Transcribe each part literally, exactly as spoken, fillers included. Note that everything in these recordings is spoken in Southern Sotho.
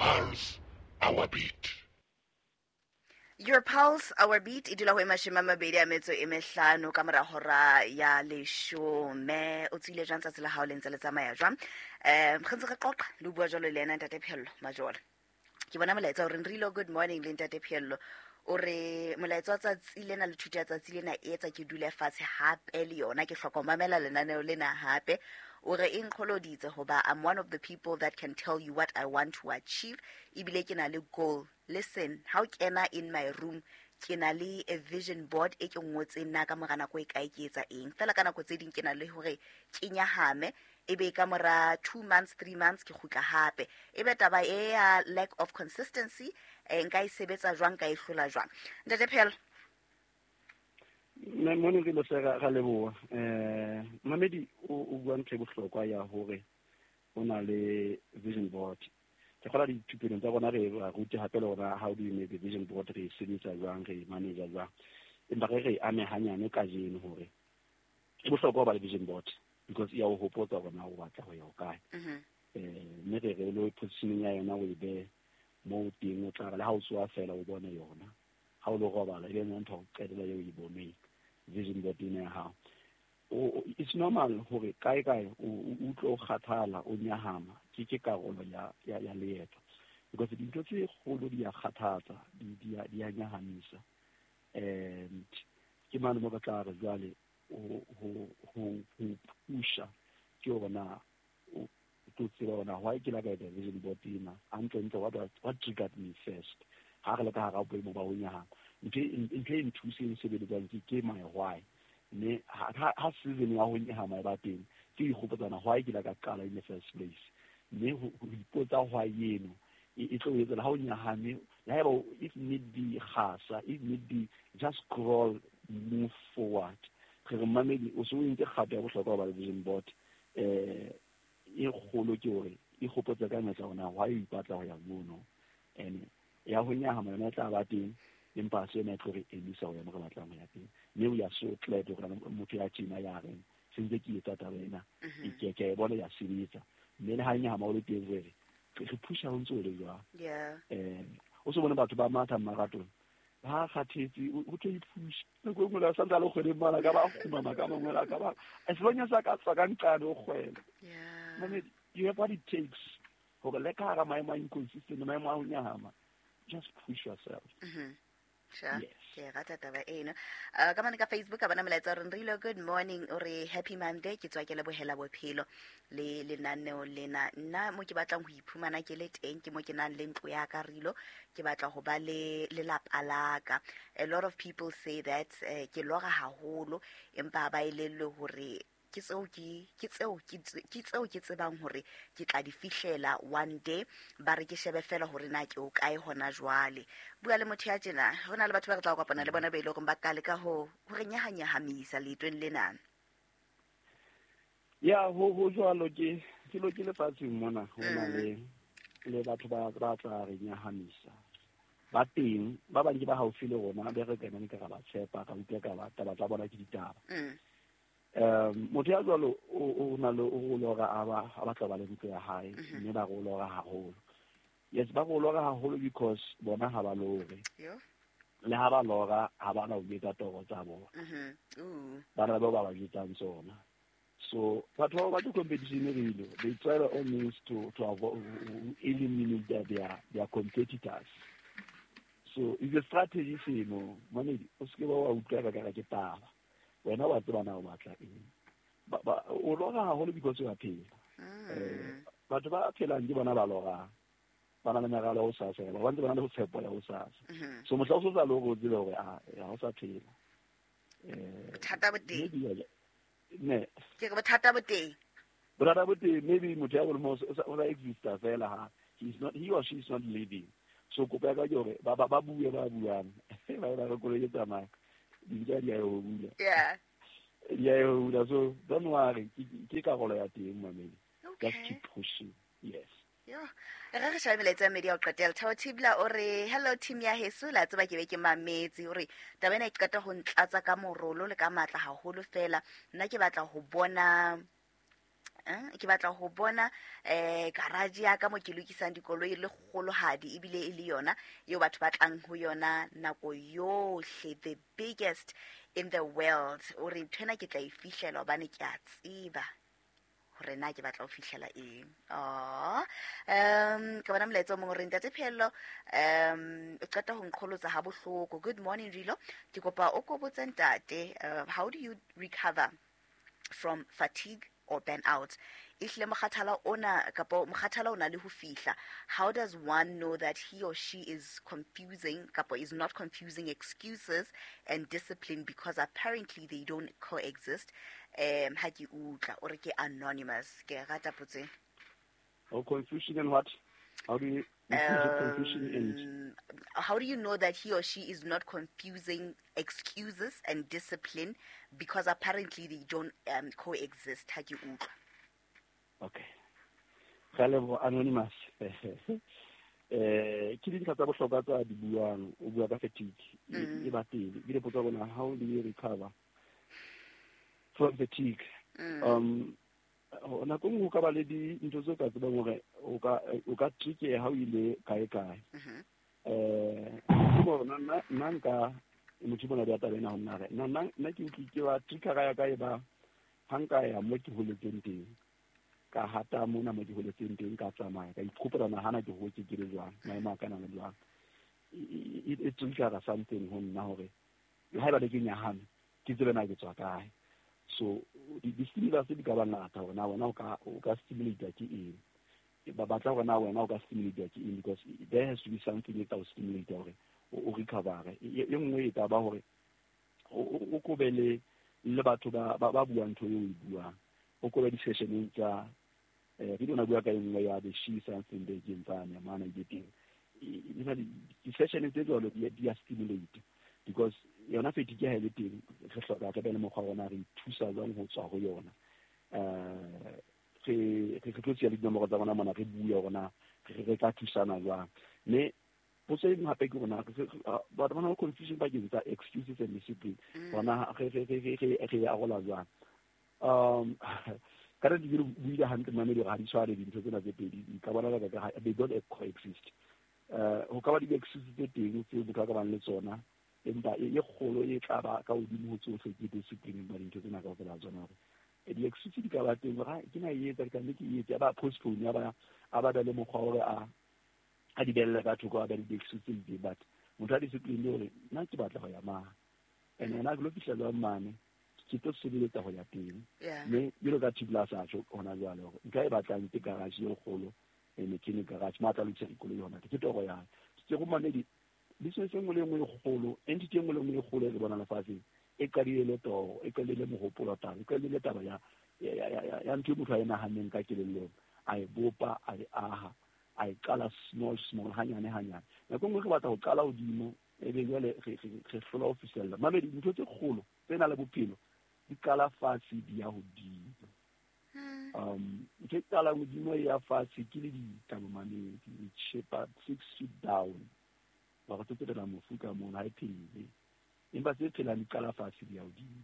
Pulse, our beat. Your Pulse, Our Beat e dula ho e mashome a mabedi a metso e mehlano ka mora hora ya leshome. O tswile jwang tsatsi la hao le ntse le tsamaya jwang? Um re ntse re qoqa le bua jwalo le yena Ntate Pheello Majola. Ke bona molaetsa o reng Rilo, good morning le Ntate Pheello. O re molaetsa wa tsatsi lena le thuto ya tsatsi lena e etsa ke dule fatshe hape le yona, ke hloka ho mamela lenaneo lena hape. O re e nkgoloditse hoba I'm one of the people that can tell you what I want to achieve, ebile ke na le goal. Listen, ha o kena in my room, ke na le a vision board e ke ngotseng nna ka mora nako e kae ke etsa eng. Fela ka nako tse ding ke na le hore ke nyahame, ebe ka mora two months, three months ke kgutla hape. Ebe taba e ya lack of consistency, eh, nka e sebetsa jwang, nka e hlola jwang? Ntate Pheello. Mme mone re lo se ra leboha. Eh Mamedi o o bua ntho e bohlokwa ya hore o na le vision board. Ke kgola dithupelong tsa rona re ba rute hape le hore how do you make the vision board, re e sebetsa jwang, re e manage jwang. Empa re re ame hanyane kajeno hore e bohlokwa ho ba le vision board because e ya o hopotsa hore na o batla ho ya hokae. Mhm. Eh mme re re lo positioning ya yona o e behe moo teng, o tla re le ha o tsoha fela o bone yona. Ha o lo robala e be yona ntho ya ho qetela eo o e boneng, vision board ena ya hao. O, it's normal hore kae kae o o utlwe o kgathala, o nyahama, ke ke karolo ya ya ya leeto. Because dintho tse kgolo di a kgathatsa, di di a di a nyahamisa. And ke mane mo re tla re jwale ho ho ho ho pusha ke hore na o tlo tseba hore na why ke la ka etsa vision board ena hantle ntle, what what triggered me first. Ha re le ka hara boemo ba ho nyahama, ntho e ntho e nthuseng sebeletsang ke ke my why. Mme ha ha ha season ya ho nyahama e ba teng, ke ikgopotsana why ke la ka qala in the first place. Mme ho ho ipotsa why eno e e tlo o etsa ha o nyahame, le haeba o- if need be kgasa, if need be just crawl, move forward. Re re mamedi o se o entse kgato ya bohlokwa ho ba le vision board. Eh e kgolo ke hore e kgopotse ka mehla hore na why o ipatla ho ya mono. And ya ho nyahama yona e tla ba teng, empa se yona e tlo re emisa ho ya mo re batlang ho ya teng. Mme we are so glad hore motho ya tjena ya reng se ntse ke etsa taba ena, Mhm. ke ke a e bona ya sebetsa. Mme le ha nyahama o le teng re re re pusha ho ntso o le jwang. Yeah. Eh o se bone batho ba matha marathon ba kgathetse, o tlo iphusha nako e nngwe le sa ntse a le kgwedeng mala ka ba kgumama ka mangwele a ka ba as long as a ka tswa ka nqane o kgwela. Yeah. Mamedi, you have what it takes hore le ka hara maemo a inconsistent, maemo a ho nyahama, just push yourself. Mhm. Sure. Yes. Ke e rata taba eno. Uh, ka mane ka Facebook a bona molaetsa o reng Rilo, good morning, o re happy Monday, ke tswa ke lebohela bophelo le lenaneo lena. Nna mo ke batlang ho iphumana ke le teng ke mo ke nang le ntlo ya ka Rilo, ke batla ho ba le lelapa la ka. A lot of people say that eh, ke lora haholo empa ba elellwe hore ke tseo ke ke tseo ke tse- ke tseo ke tsebang hore ke tla di fihlela one day. Ba re ke shebe fela hore na ke o kae hona jwale. Bua le motho ya tjena, ho na le batho ba re tla kopana le bona ba ile hore ba ka leka ho ho re nyahanyahamisa leetong lena. Ya ho ho jwalo ke ke lo ke lefatsheng mona ho na Mm. le le batho ba ba tla re nyahamisa. Ba teng ba bang ke ba haufi le rona, be re kenang ke ra ba tshepa, ra utlwa ka ba taba tsa bona ke ditaba. Mm. Um motho ya jwalo o o na le o lora a ba a batla ba le ntlo ya hae, Mhm. mme ba re o lora haholo. Yes, ba re o lora haholo because bona ha ba lore. Yo. Le ha ba lora ha ba na ho etsa toro tsa bona. Mhm. Ooh. Ba na le bao ba ba jwetsang tsona. So batho ba ba competition really, they try by all means to to avoid eliminate their, their their competitors. So it's a strategy seno, mamedi o se ke ba wa utlwa ka ka ke taba. Wena wa tseba na o batla eng. Ba ba o lora haholo because o a phela. Mm. Eh batho ba phelang ke bona ba lorang. Ba na le meralo ya hosasa, ba ntse ba na le tshepo ya hosasa. Mhm. So mohla o so sa lore o tsebe hore a ha o sa phela. Eh Bothata bo teng. maybe ya- ne. Ke re bothata bo teng. Bothata bo teng, maybe motho ya boleng o sa o sa exista fela ha he is not, he or she is not living. So kopo ya ka ke hore ba ba ba bue ba buang. Ba ba re koloi e tsamaya. Dintja di a e hula. Yeah. Di a e hula. So don't worry, ke ke karolo ya teng mamedi. Just Okay. keep pushing. Yes. Yo, re re shebe melaetsa ya media o qetela. Thabo Thibla o re hello team ya heso, la tseba ke be ke mametse. O re taba ena e qeta ho ntlatsa ka morolo le ka matla haholo fela. Nna ke batla ho bona Eh, ke batla ho bona eh garage ya ka mo ke lokisang dikoloi le kgolohadi ebile e le yona eo batho ba tlang ho yona nako yohle, the biggest in the world. O re nthwena ke tla e fihlela hobane ke a tseba hore na ke batla ho fihlela eng. Oh, um ke bona molaetsa o mong o re ntate Phehello, um o qeta ho nqholotsa ha bohloko. Good morning Rilo, ke kopa o ko botse ntate, uh, how do you recover from fatigue or burnout? Ehlile mokgathala ona kapo mokgathala o na le ho fihla. How does one know that he or she is confusing kapo is not confusing excuses and discipline, because apparently they don't coexist? Um ha ke utlwa o re ke anonymous. Ke rata potso ena. Oh, confusion and what? How do you confusion and Um, how do you know that he or she is not confusing excuses and discipline, because apparently they don't um, coexist? Ha ke utlwa. Okay. Ka leboha anonymous. Eh ke dintlha tsa bohlokwa tsa di buang, o bua ka fatigue. Mm. E ba teng. Ebile potso ya rona, how do you recover from fatigue? Mm. Um nako e nngwe o ka ba le dintho tse o ka tsebang hore o ka o ka trikeha ha o ile kae kae. Mhm. Eh ke bona nna nna nka motho bona di taba ena ho nna re nna nna nna ke utlwe ke wa trigger ya ka e ba ha nka ya mo ke holetseng teng, ka hata mona mo ke holetseng teng, ka tsamaya ka ikgopela nahana ke hotse ke le jwang, maemo a ka na le jwang. E e trigger something ho nna hore le haeba le ke nyahame ke tsebe na ke tswa kae. So di stimulus di ka ba ngata hore na wena o ka o ka stimulate ke eng, ba batla hore na wena o ka stimulate ke eng, because there has to be something e tla o stimulate hore o recover. E nngwe e ka ba hore o kobe le le batho ba ba buang ntho eo o e buang, o kobe di-sessioneng tsa eh ke dona bua ka e nngwe ya the she something they ke ntsane mana e teng. Di-session tse jwalo di a stimulate, because yona fatigue ha e le teng re hloka re be le mokgwa wa rona re ithusa jwang ho tswa ho yona. Eh re re tlo tseya le dinomoro tsa rona mona re bue hore na re re ka thusana jwang. Mme potso e nngwe hape ke hore na batho ba na le confusion pakeng tsa excuses and discipline, hore re re re re re arola jwang. Um ka re di buile hantle mamedi hore ha di tshwane dintho tsena tse pedi, di ka bona ka they don't coexist. Eh ho ka ba di-excuses tse teng tseo motho a ka bang le tsona, empa e kgolo e tla ba ka hodimo ho tsohle ke discipline ba dintho tsena kaofela tsona. Hore di-excuse di ka ba teng hore ke na e etsa ke tlameha ke etse, a ba postpone, a ba a ba le mokgwa hore a a di belle ka thoko, a ba le di-excuse tse itseng. But motho a discipline hore nna ke batla ho ya mane, and yena ke lo fihla jwang mane, ke tlo sebeletsa ho ya teng. Mme jwalo ka Thibela sa tjho hona jwale hore nka e batlang ke garage e kgolo, e mechanic garage mo a tla lokisa dikoloi hona, ke toro ya hae. Ke go mamedi business e nngwe le nngwe e kgolo, entity e nngwe le nngwe e kgolo e re bonang lefatsheng e qadile le toro, e qadile le mohopolo taba, e qadile taba ya ya ya ya ntho e motho a e nahanneng ka kelellong, a e bopa, a e aha, a e qala small small hanyane hanyane. Nako e nngwe re batla ho qala hodimo, ebe jwale re re hlola ho fihlella. Mamedi dintho tse kgolo tse nang le bophelo di qala fatshe di ya hodimo. Um ntho e qalang hodimo e ya fatshe ke le ditaba mamedi, e tjhepa six feet down. Ba re tsetela mofu ka mona ha e phele, empa tse phelang di qala fatshe di ya hodimo.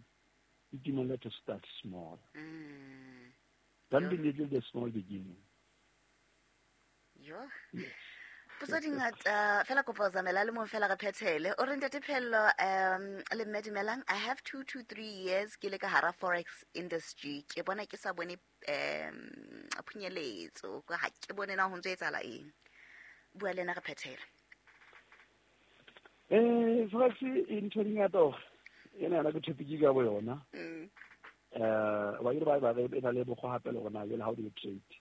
Itumelle to start small. Mm. Don't be little the small beginning. Yo. Potso di ngata fela kopa o zamela le mong fela re phethele. O re ntate Phehello, um le mme dumelang, I have two to three years ke le ka hara forex industry. Ke bona ke sa bone um phunyeletso, ha ke bone na ho ntse etsahala eng. Bua le nna re phethele. Eh forex e ntho di ngata hore ena yona ke topic ka bo yona. Mm. Eh wa ile ba ba re ena le bokgwa hape le rona jwale how do you trade?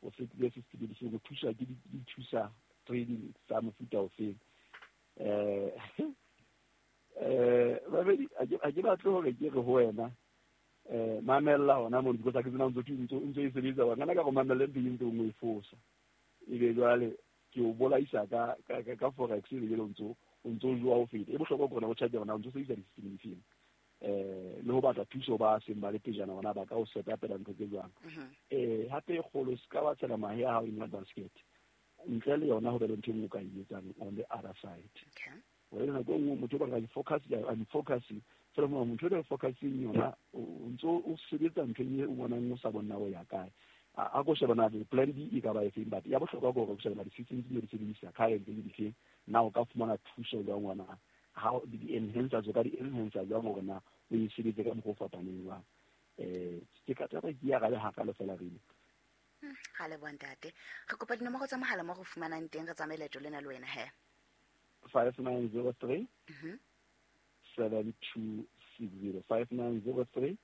O se ke se se di go thusa ke di thusa trading tsa mofuta o feng. Eh eh babedi a ke batle hore ke re ho wena eh mamella hona mo because ke tsena ntse ntse ntse e sebetsa wa ngana ka go mamella ntse ntse o e fosa. Ebe jwale ke o bolaisa ka ka ka forex e le ntse o ntse o jwa o feta. E bohlokwa ke hore o charge hona o ntse o sebedisa di-system difeng. Eh le ho batla thuso ba seng ba le pejana hona ba ka o set up ntho tse jwang. Eh hape e kgolo se ka wa tshela mahe a hao in one basket. Ntle le yona ho be le ntho e nngwe o ka e etsang on the other side. Okay. Wena nako e nngwe motho o batla focus, I'm focusing Fela motho o focusing yona o ntso o sebetsa ntho e o bonang o sa bona o ya kae. A ko shebana le plan B e ka ba efeng, but ya bohlokwa ke hore o shebana di-systems tse di sebedisa current ke difeng, na o ka fumana thuso jwang ngwana, how di-enhancers o ka di-enhancer jwang hore na o e sebetse ka mokgwa o fapaneng jwang. Eh ke ka taba ke ya gale hakalo fela re Ga leboha ntate. Re kopa dinomoro tsa mohala mo go fumanang teng re tsamaye leeto lena le wena he. five nine zero three seven two six zero five nine zero three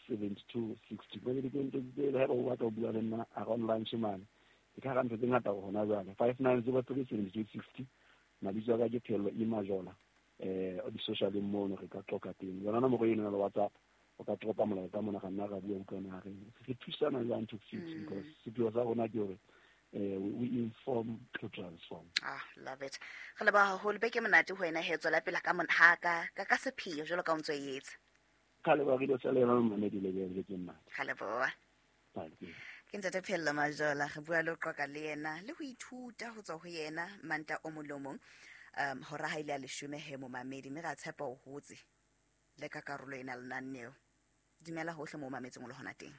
seven two six two. Ba di teng tse le ha o batla ho bua le nna around lunch mane. Ke ka ga ntho tse ngata ho hona jwale. five nine zero three seven two six two. Mabitso a ka ke Phello Imajola. Eh o di social mono re ka tloka teng. Yona nomoro eno ya WhatsApp o ka tropa molaetsa mona ga nna ra bua utlwana re re thusana jwang to fix, because sepheo sa rona ke hore eh we inform to transform. Ah, love it. Re leboha haholo, beke monate ho wena he, tswela pele ka ha ka ka ka sepheo jwalo ka o ntso e etsa. Ka leboha re tsa le yona mamedi le le ke nna. Ka leboha. Ke ntate Phello Majola, re bua le ho qoqa le yena le ho ithuta ho tswa ho yena Manta o molomong. Um hora ha ile a leshome he momamedi, mme ra tshepa o hotse le ka karolo ena lenaneo. Dumela hohle mo mametseng o le hona teng.